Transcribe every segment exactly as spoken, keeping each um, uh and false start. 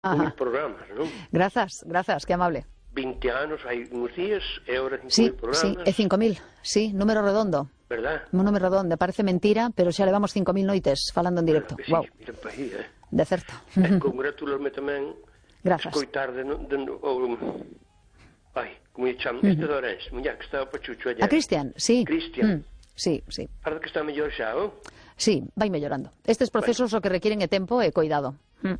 uns programas, non? Grazas, grazas, que amable. vinte anos, hai uns días, e agora cinco Sí, mil programas. sí, é cinco mil, sí, número redondo. Verdad? Un número redondo, parece mentira, pero xa levamos cinco mil noites falando en directo. Claro que sí, Wow, mira pa aí, eh? de certo. E congratularme tamén Grazas. escoitar de, de, de o, ai, como lle chamo, este de Orense, muña que estaba pachucho allá. A Cristian, sí. Cristian. Mm, sí, sí. Parece que está mellor xa, oh? Sí, vai mellorando. Estes procesos o que requiren é tempo e cuidado. Mm.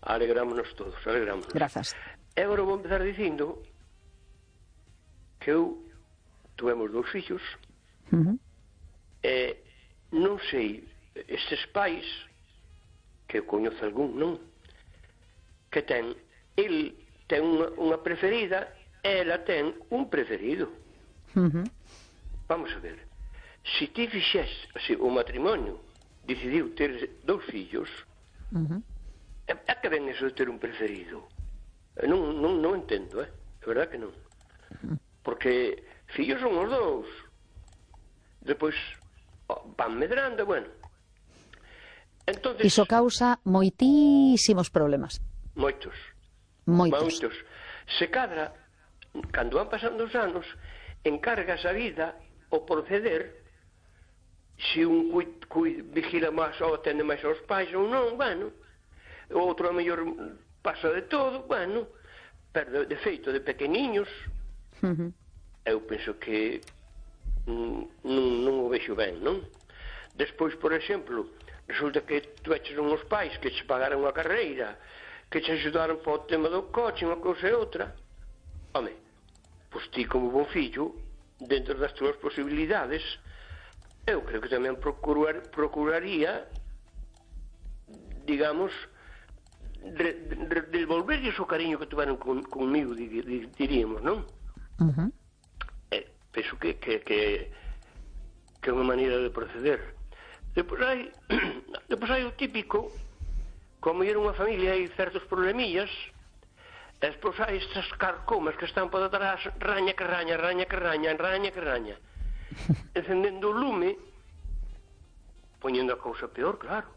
Alegrámonos todos, alegrámonos. Grazas. E agora vou empezar dicindo que eu tuvemos dous fillos. Uh -huh. E non sei, estes pais, que eu coñezo algún, non? Que ten, el ten unha, unha preferida, e ela ten un preferido. Uh -huh. Vamos a ver, se ti fixes, se o matrimonio decidiu ter dous fillos, uh -huh. é, é que ven eso de ter un preferido? Non, non, non entendo, eh? É verdad que non. Uh -huh. Porque fillos son os dous. Depois van medrando, bueno. Entonces, iso causa moitísimos problemas. Moitos. Moitos. Moitos. Se cadra, cando van pasando os anos, encargas a vida o proceder, se un cui, cui, vigila máis ou atende máis aos pais ou non, bueno, o outro a mellor pasa de todo, bueno, pero de feito de pequeniños, uh -huh. eu penso que non, non o vexo ben, non? Despois, por exemplo, resulta que tu eches uns pais que che pagaron a carreira, que che ajudaron para o tema do coche, unha cousa e outra. Home, pois ti como bon fillo, dentro das túas posibilidades, eu creo que tamén procurar, procuraría, digamos, re, re, devolverlles o cariño que tuveron con, conmigo, diríamos, non? Uh -huh. Eh, penso que, que, que, que é unha maneira de proceder. Depois hai, depois hai o típico, como era unha familia hai certos problemillas, e despois hai estas carcomas que están por atrás, raña que raña, raña que raña, raña que raña, encendendo o lume, poñendo a cousa peor, claro,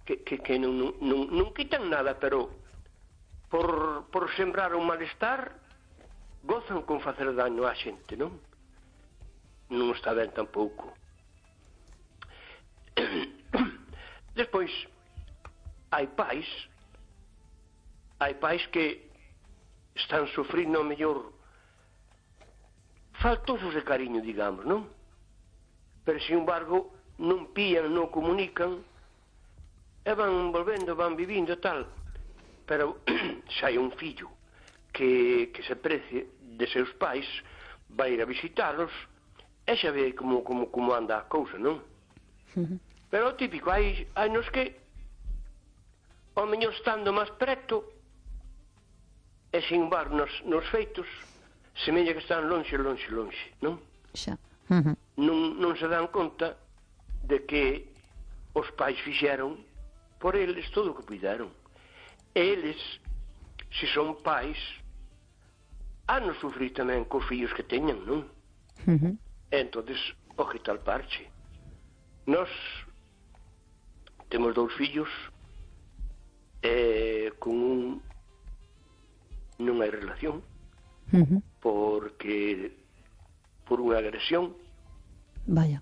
que, que, que non, non, non, non quitan nada, pero por, por sembrar un malestar gozan con facer daño á xente, non? Non está ben tampouco. Despois hai pais hai pais que están sufrindo mellor faltosos de cariño, digamos, non? Pero, sin embargo, non pían, non comunican e van volvendo, van vivindo tal. Pero se hai un fillo que, que se precie de seus pais, vai ir a visitalos e xa ve como, como, como anda a cousa, non? Pero o típico, hai, hai nos que ao mellor estando máis preto e sin embargo nos, nos feitos semella que están lonxe, lonxe, lonxe, non? Xa. Uh -huh. non, non se dan conta de que os pais fixeron por eles todo o que puideron. E eles, se son pais, han de sufrir tamén cos fillos que teñan, non? Uh -huh. E entonces, o que tal parche. Nós temos dous fillos e con un non hai relación, uh -huh. porque por unha agresión, vaya,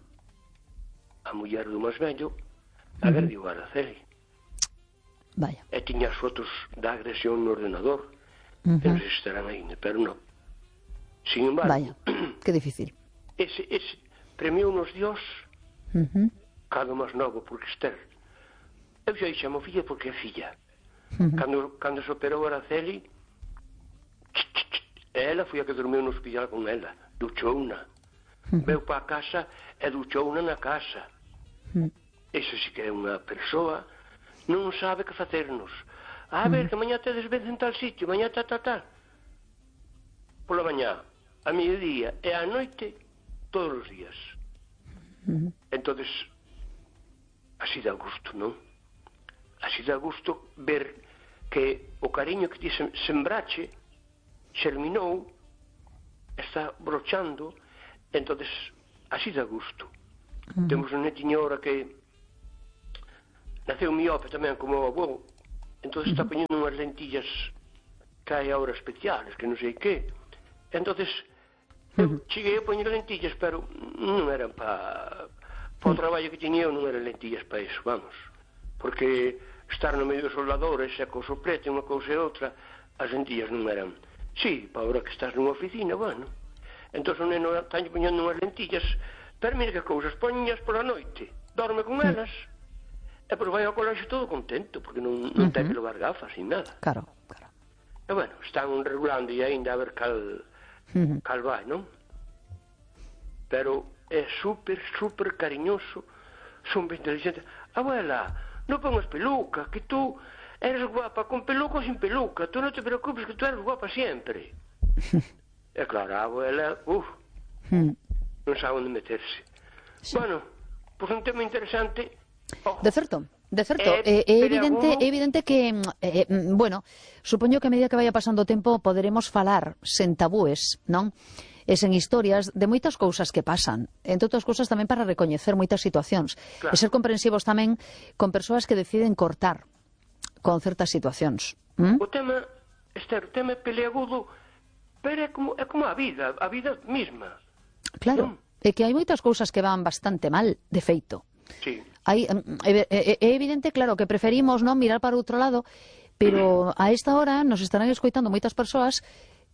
a muller do máis vello agrediu a Araceli. Vaya. E tiña as fotos da agresión no ordenador, uh -huh. e non sei se estarán aí, pero non. Sin embargo, vaya, que difícil. Ese, ese premiou nos Dios, uh -huh. cado máis novo, porque Esther, eu xa chamo filla porque é filla. Uh -huh. Cando, cando se operou a Araceli, ela foi a que dormiu no hospital con ela, duchouna. Uh -huh. Veu para a casa e duchouna na casa. Uh -huh. Esa sí que é unha persoa, non sabe que facernos. A ver, uh -huh. que mañá tedes vez en tal sitio, mañá tal, tal, tal. Pola mañá, a mediodía e a noite, todos os días. Uh -huh. Entonces, así dá gusto, non? Así dá gusto ver que o cariño que ti sembrache xerminou, está brochando, entonces así dá gusto. Uh -huh. Temos un netiño ahora que naceu miope tamén como o avó, entonces está poñendo unhas lentillas que hai ahora especiales, que non sei que. Entonces, eu cheguei a poñer lentillas, pero non eran para pa o traballo que tiña eu, non eran lentillas para iso, vamos. Porque estar no medio dos soldadores e co soplete, unha cousa e outra, as lentillas non eran. Sí, para ahora que estás nunha oficina, bueno. Entón o neno está poñendo unhas lentillas, pero mira que cousas, poñas pola noite, dorme con elas, e pois vai ao colexio todo contento, porque non, non uh -huh. ten que levar gafas ni nada. Claro, claro. E bueno, están regulando e ainda a ver cal, uh -huh. cal vai, non? Pero é super, super cariñoso, son ben inteligentes. Abuela, non pongas peluca, que tú eres guapa con peluca ou sin peluca, tú non te preocupes que tú eres guapa sempre. E claro, a abuela, uff, uh, non sabe onde meterse. Sí. Bueno, pois un tema interesante. Oh. De certo, de certo. É, é evidente, é evidente que, eh, bueno, supoño que a medida que vaya pasando o tempo poderemos falar sen tabúes, non? E sen historias de moitas cousas que pasan, entre outras cousas tamén para recoñecer moitas situacións, claro. E ser comprensivos tamén con persoas que deciden cortar con certas situacións. ¿Mm? O tema, Esther, o tema é peleagudo, pero é como, é como a vida, a vida mesma. Claro, ¿no? É que hai moitas cousas que van bastante mal, de feito. Sí. Hai, é, é, é evidente, claro, que preferimos non mirar para outro lado, pero a esta hora nos estarán escoitando moitas persoas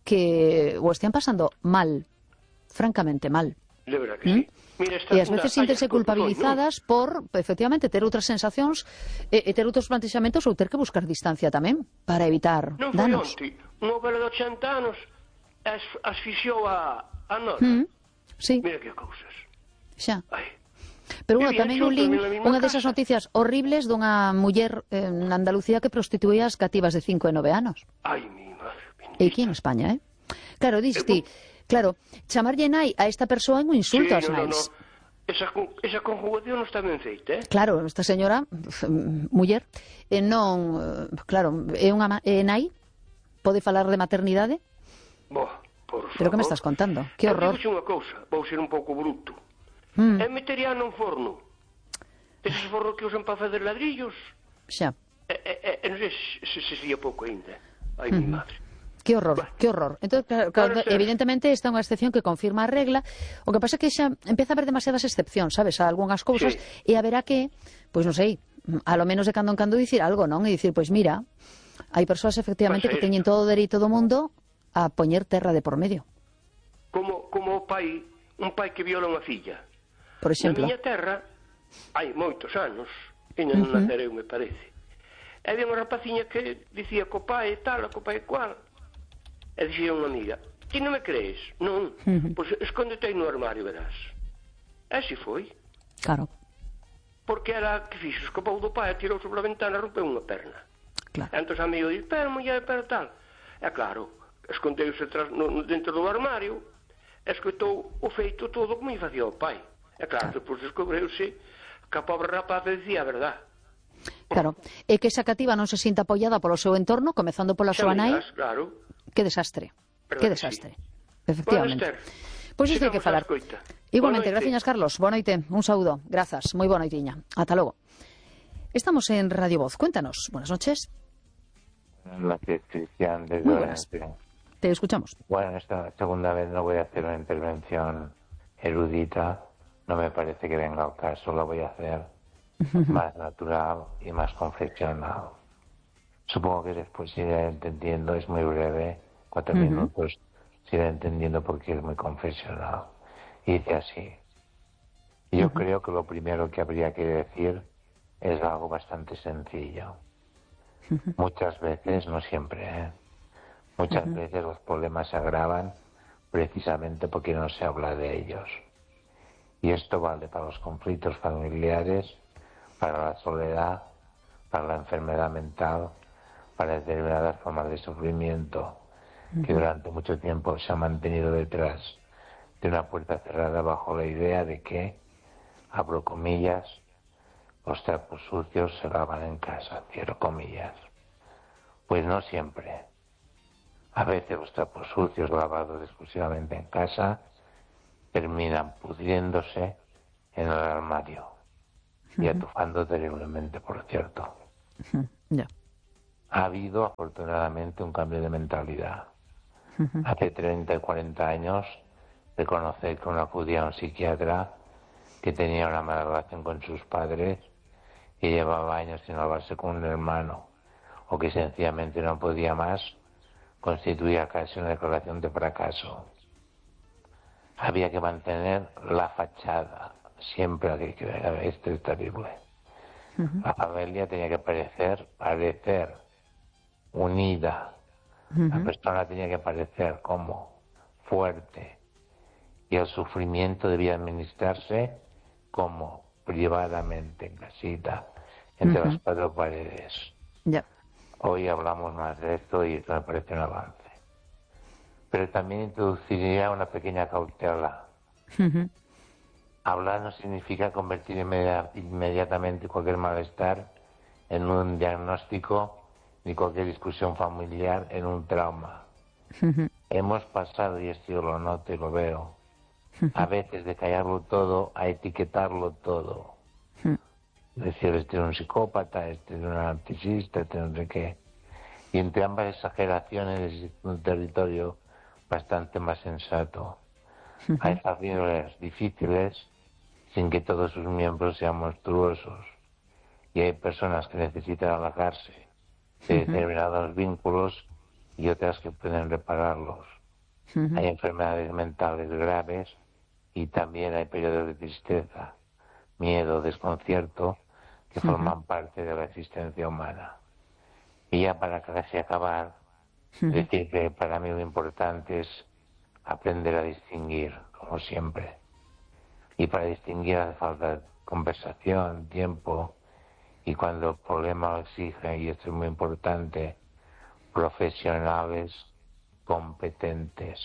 que o estén pasando mal, francamente mal. De verdad que ¿Mm? Sí. Mira, e ás veces síntese culpabilizadas ¿no? por, efectivamente, ter outras sensacións e, e ter outros plantexamentos ou ter que buscar distancia tamén para evitar non danos. Non foi onte, unha vela de ochenta anos as, asfixiou a, a nós. ¿Mm? Sí. Mira que cousas. Xa. Ai. Pero bueno, tamén eu lín unha desas noticias horribles dunha muller eh, na Andalucía que prostituía as cativas de cinco e nove anos. Ai, mi madre. E aquí en España, eh? Claro, diste, claro, chamarlle nai a esta persoa é un insulto sí, ás no, nais. No, no. Esa, esa conjugación non está ben feita, eh? Claro, esta señora, muller, eh, non, claro, é unha é nai, pode falar de maternidade? Bo, por favor. Pero que me estás contando? Que horror. Eu unha cousa, vou ser un pouco bruto. Mm. É metería nun forno. Eses fornos que usan para fazer ladrillos. Xa. E, e, e non sei se se sería pouco ainda. Ai, mm. mi madre. Que horror, bueno. que horror. Entón, claro, claro, evidentemente esta é unha excepción que confirma a regla. O que pasa é que xa empeza a haber demasiadas excepcións, sabes, a algunhas cousas, sí. E haberá que, pois non sei, a lo menos de cando en cando dicir algo, non? E dicir, pois mira, hai persoas efectivamente pues que teñen todo o dereito do mundo a poñer terra de por medio. Como, como o pai, un pai que viola unha filla. Por exemplo. Na miña terra, hai moitos anos, e non uh -huh. nacereu, me parece. E había unha rapaciña que dicía co pai e tal, co pai e cual. E dicía unha amiga, ti non me crees? Non, uh -huh. pois escóndete aí no armario, verás. E así foi. Claro. Porque era que fixo, escapou do pai, tirou sobre a ventana e rompeu unha perna. Claro. E entón o amigo dice, pero muller, pero tal. E claro, escondeuse no, dentro do armario, e escoitou o feito todo como lle facía o pai. E claro, claro. Depois descubreuse que a pobre rapaz decía a verdad. Claro, e que esa cativa non se sinta apoiada polo seu entorno, comezando pola súa nai. Claro. Que desastre, verdad que desastre, sí. Efectivamente. Pois isto hai que falar. Igualmente, graciñas, Carlos. Boa noite, un saúdo. Grazas, moi boa noitiña. Ata logo. Estamos en Radio Voz. Cuéntanos. Buenas noches. La Cristian desde Muy buenas. Te escuchamos. Bueno, esta segunda vez no voy a hacer una intervención erudita. No me parece que venga al caso. La voy a hacer más natural y más confeccional. Supongo que después se irá entendiendo. Es muy breve, cuatro uh-huh. minutos. Se irá entendiendo porque es muy confesional. Y dice así. Yo uh-huh. creo que lo primero que habría que decir es algo bastante sencillo. Uh-huh. Muchas veces, no siempre, ¿eh? muchas uh-huh. veces los problemas se agravan precisamente porque no se habla de ellos. Y esto vale para los conflictos familiares, para la soledad, para la enfermedad mental, para determinadas formas de sufrimiento uh-huh. que durante mucho tiempo se han mantenido detrás de una puerta cerrada bajo la idea de que, abro comillas, los trapos sucios se lavan en casa, cierro comillas. Pues no siempre. A veces los trapos sucios lavados exclusivamente en casa terminan pudriéndose en el armario uh-huh. y atufando terriblemente, por cierto. Uh-huh. Yeah. ha habido afortunadamente un cambio de mentalidad. Uh-huh. Hace treinta y cuarenta años, reconocer que uno acudía a un psiquiatra que tenía una mala relación con sus padres, que llevaba años sin hablarse con un hermano, o que sencillamente no podía más, constituía casi una declaración de fracaso. Había que mantener la fachada, siempre que esto es terrible. Uh-huh. La familia tenía que parecer, parecer unida. Uh-huh. La persona tenía que parecer como fuerte. Y el sufrimiento debía administrarse como privadamente, en casita, entre uh-huh. las cuatro paredes. Yeah. Hoy hablamos más de esto y me parece un avance. Pero también introduciría una pequeña cautela. Uh-huh. Hablar no significa convertir inmedi- inmediatamente cualquier malestar en un diagnóstico ni cualquier discusión familiar en un trauma. Uh-huh. Hemos pasado, y esto yo lo noto y lo veo, uh-huh. a veces de callarlo todo a etiquetarlo todo. Uh-huh. Es decir, este es un psicópata, este es un narcisista, este no sé qué. Y entre ambas exageraciones existe un territorio bastante más sensato. Uh-huh. Hay familias difíciles sin que todos sus miembros sean monstruosos. Y hay personas que necesitan alejarse de uh-huh. determinados vínculos y otras que pueden repararlos. Uh-huh. Hay enfermedades mentales graves y también hay periodos de tristeza, miedo, desconcierto que uh-huh. forman parte de la existencia humana. Y ya para casi acabar, uh-huh. decir que para mí lo importante es aprender a distinguir, como siempre. Y para distinguir hace falta conversación, tiempo, y cuando el problema lo exige, y esto es muy importante, profesionales competentes.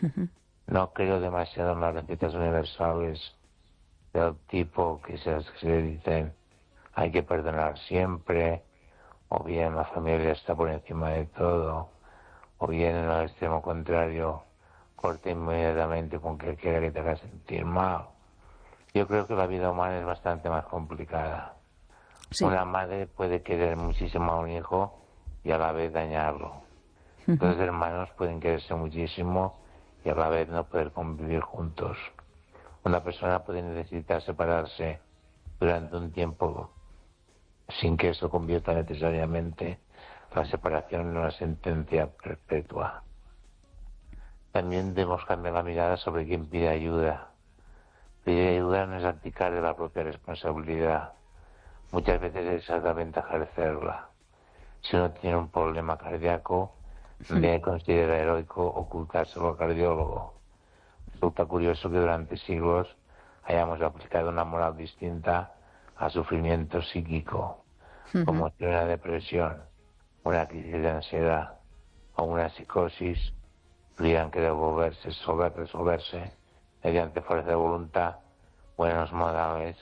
Uh-huh. No creo demasiado en las recetas universales del tipo que se, que se dicen hay que perdonar siempre, o bien la familia está por encima de todo, o bien en el extremo contrario, corta inmediatamente con que quiera que te haga sentir mal. Yo creo que la vida humana es bastante más complicada. Sí. Una madre puede querer muchísimo a un hijo y a la vez dañarlo. Uh-huh. Dos hermanos pueden quererse muchísimo y a la vez no poder convivir juntos. Una persona puede necesitar separarse durante un tiempo sin que eso convierta necesariamente la separación en una sentencia perpetua. También debemos cambiar la mirada sobre quien pide ayuda. Pedir ayuda no es abdicar de la propia responsabilidad. Muchas veces es exactamente ejercerla. Si uno tiene un problema cardíaco, debe considerar heroico ocultárselo al cardiólogo. Resulta curioso que durante siglos hayamos aplicado una moral distinta al sufrimiento psíquico, uh-huh. como si una depresión, una crisis de ansiedad o una psicosis tuvieran que devolverse, resolver, resolverse mediante fuerza de voluntad, buenos modales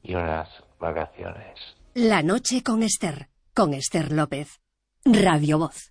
y unas vacaciones. La noche con Ester, con Ester López. Radio Voz.